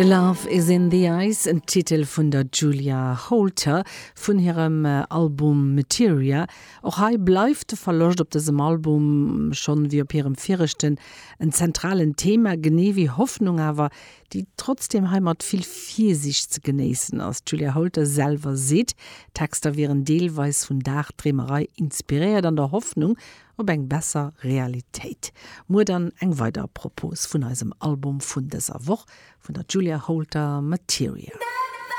The Love Is In The Eyes, en Titel vun der Julia Holter vun hirem Album Materia. Och hei bleift de Verloscht op dësem Album, schonn wéi op hirem viregten, en zentralen Thema, genee wéi Hoffnung awer, déi trotzdeem hei mat vill Virsiicht ze genéissen ass. D'Julia Holter selwer seet, d'Texter wieren deelweis vun Dagdreemerei inspiréiert, an der Hoffnung op eng besser Realitéit. Muer dann eng weider Propos vun eisem Album vun dëser Woch vun der Julia Holter, Materia.